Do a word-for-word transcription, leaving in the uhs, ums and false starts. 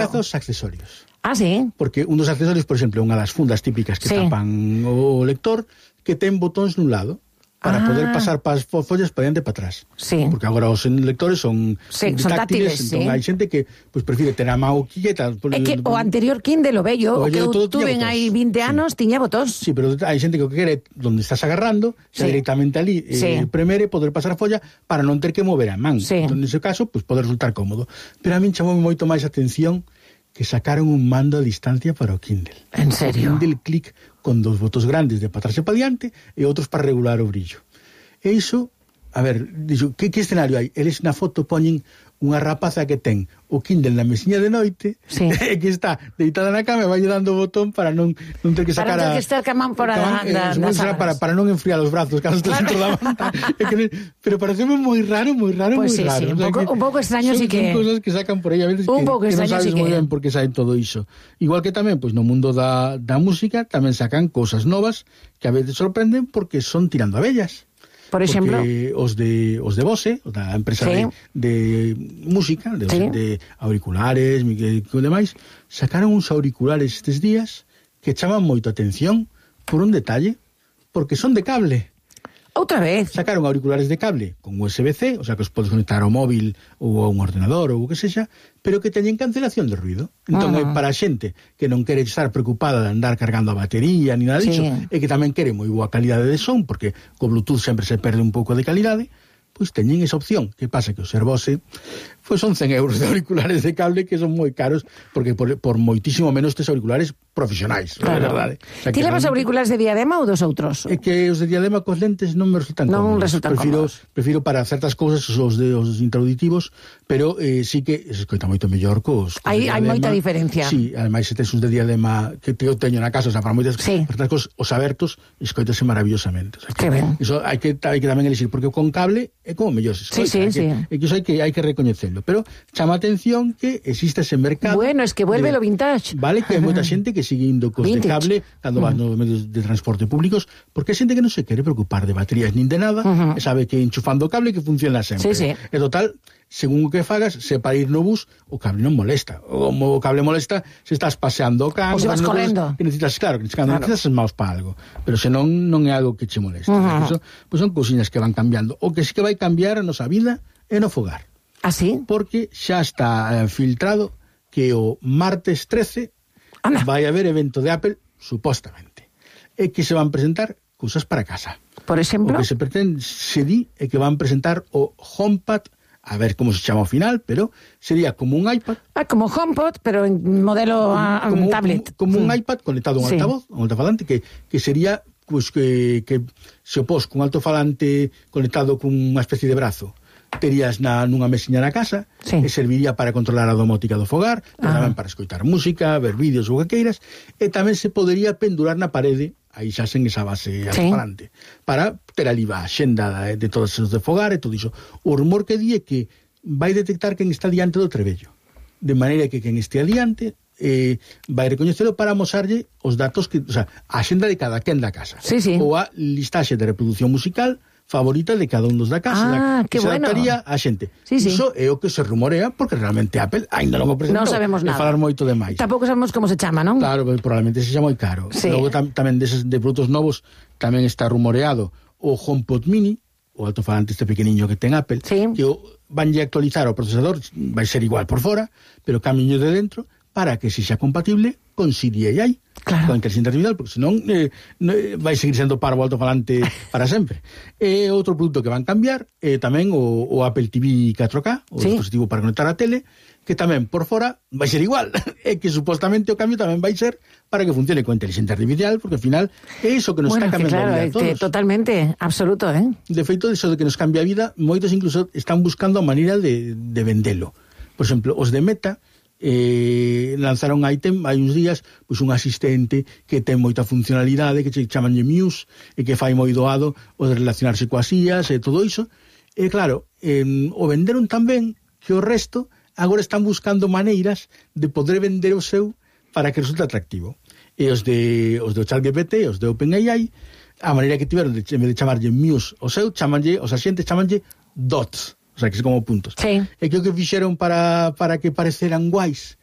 graza aos accesorios. Ah, sí? Porque un dos accesorios, por exemplo, unha das fundas típicas que sí. tapan o lector, que ten botóns nun lado, para ah. poder pasar pas follas para diante e para atrás. Sí. Porque agora os lectores son, sí, son táctiles, entón sí. hai xente que pues, prefire ter a mão quieta. É que o anterior Kindle, o bello, o que eu tuve hai vinte anos, sí. tiña botóns. Sí, pero hai xente que o que quere, donde estás agarrando, sí. directamente ali, sí. eh, premere, poder pasar a folla para non ter que mover a man. Sí. Entón, nese caso, pues, pode resultar cómodo. Pero a min chamou moito máis atención que sacaron un mando a distancia para o Kindle. En serio? O Kindle Click con dos botos grandes de para atrás e para diante e outros para regular o brillo. E iso, a ver, dixo, que, que escenario hai? Eles na foto poñen unha rapaza que ten o Kindle na mesiña de noite, sí. e que está deitada na cama e vai dando o botón para non, non ter que sacar para non ter a... que estar camán por a, eh, da, das para, para non enfriar os brazos cando estás claro. dentro da manta. que, pero pareceme moi raro, moi raro, pues moi sí, raro. Sí, o un, sea, pouco, que un pouco extraño son, sí que... Son cosas que sacan por aí a veces un que, que non sabes sí moi que... ben por que saen todo iso. Igual que tamén, pois no mundo da, da música tamén sacan cosas novas que a veces sorprenden porque son tirando a bellas. Por exemplo, porque os de os de Bose, da empresa sí. de, de música, de, sí. de auriculares, e demais, sacaron uns auriculares estes días que chaman moito atención por un detalle, porque son de cable. Outra vez. Sacaron auriculares de cable con U S B C, o sea que os podes conectar ao móvil ou a un ordenador ou o que sexa, pero que teñen cancelación de ruido. Entón, uh -huh. é para a xente que non quere estar preocupada de andar cargando a batería ni nada disso, sí. e que tamén quere moi boa calidade de son, porque co Bluetooth sempre se perde un pouco de calidade, pois teñen esa opción. Que pasa que o ser Bose pois son cen euros de auriculares de cable que son moi caros, porque por, por moitísimo menos tes auriculares profesionais, claro. é verdade. O sea, ti levas non... auriculares de diadema ou dos outros? É que os de diadema cos lentes non me resultan non cómodos. Resultan prefiro, cómodos. prefiro para certas cousas os de os introductivos, pero eh, sí que se escoita moito mellor cos, cos hai, hai moita diferencia. Sí, ademais se tes os de diadema que te, eu teño na casa, o sea, para moitas sí. para cosas, os abertos escoitase maravillosamente. O sea, que, que ben. Iso hai que, hai que tamén elixir, porque con cable é como mellor se escoita. Sí, sí, hai que, sí. É que iso hai que, hai que recoñecelo, pero chama atención que existe ese mercado. Bueno, es que vuelve de, lo vintage. Vale, que hai moita xente que sigue indo cos vintage. De cable cando vas nos medios de transporte públicos, porque hai xente que non se quere preocupar de baterías nin de nada, uh -huh. e sabe que enchufando o cable que funciona sempre. Sí, sí. E total, según o que fagas, se para ir no bus, o cable non molesta. O, o cable molesta se estás paseando o can, ou se vas correndo. Que necesitas, claro, que necesitas, claro. necesitas maus para algo, pero senón non é algo que che molesta. Uh -huh. Eso, pues son cousiñas que van cambiando. O que sí que vai cambiar a nosa vida é no fogar. ¿Ah, sí? Porque xa está eh, filtrado que o martes trece Ana. vai haber evento de Apple, supostamente, e que se van presentar cousas para casa. Por exemplo? O que se pretende, se di, é que van presentar o HomePod, a ver como se chama ao final, pero sería como un iPad. Ah, como HomePod, pero en modelo a, como, tablet. Como, como mm. un iPad conectado a un sí. altavoz, un altofalante, que, que sería pues, que, que se opós con un altofalante conectado con unha especie de brazo. Terías na, nunha mesiña na casa, sí. e serviría para controlar a domótica do fogar, pero ah. tamén para escoitar música, ver vídeos ou que queiras, e tamén se podería pendurar na parede, aí xa sen esa base sí. alto-falante, para ter ali a xenda de, de todos os de fogar e todo iso. O rumor que di é que vai detectar quen está diante do trebello, de maneira que quen este adiante eh, vai recoñecelo para amosarlle os datos, que, o sea, a xenda de cada quen da casa, sí, sí. ou a listaxe de reproducción musical favorita de cada un dos da casa, ah, que se bueno. adaptaría a xente. Sí, sí. Iso é o que se rumorea, porque realmente Apple ainda non o presentou. Non sabemos nada. E falar moito de máis. Tampouco sabemos como se chama, non? Claro, probablemente se xa moi caro. Sí. Logo tam, tamén deses de produtos novos tamén está rumoreado o HomePod Mini, o altofalante este pequeniño que ten Apple, sí. que o, vanlle actualizar o procesador, vai ser igual por fora, pero camiño de dentro, para que se xa compatible con Siri e A I, claro. con inteligencia artificial, porque senón eh, eh, vai seguir sendo parvo altofalante para sempre. E outro produto que van cambiar é eh, tamén o, o Apple T V catro K, o sí. dispositivo para conectar a tele, que tamén por fora vai ser igual, e que supostamente o cambio tamén vai ser para que funcione con inteligencia artificial, porque ao final é iso que nos bueno, está cambiando claro, a vida a todos. Que totalmente, absoluto, eh? De feito, iso de que nos cambia a vida, moitos incluso están buscando a maneira de, de vendelo. Por exemplo, os de Meta eh, lanzaron hai, tem, hai uns días pois un asistente que ten moita funcionalidade, que se chamanlle Muse, e que fai moi doado o de relacionarse coas ías e todo iso. E claro, eh, o venderon tamén que o resto agora están buscando maneiras de poder vender o seu para que resulte atractivo. E os de os de ChatGPT, os de OpenAI, a maneira que tiveron de, en vez de chamarlle Muse o seu, chamanlle, os asistentes chamanlle Dots. O sea, que son como puntos. Sí. E que o que fixeron para, para que pareceran guais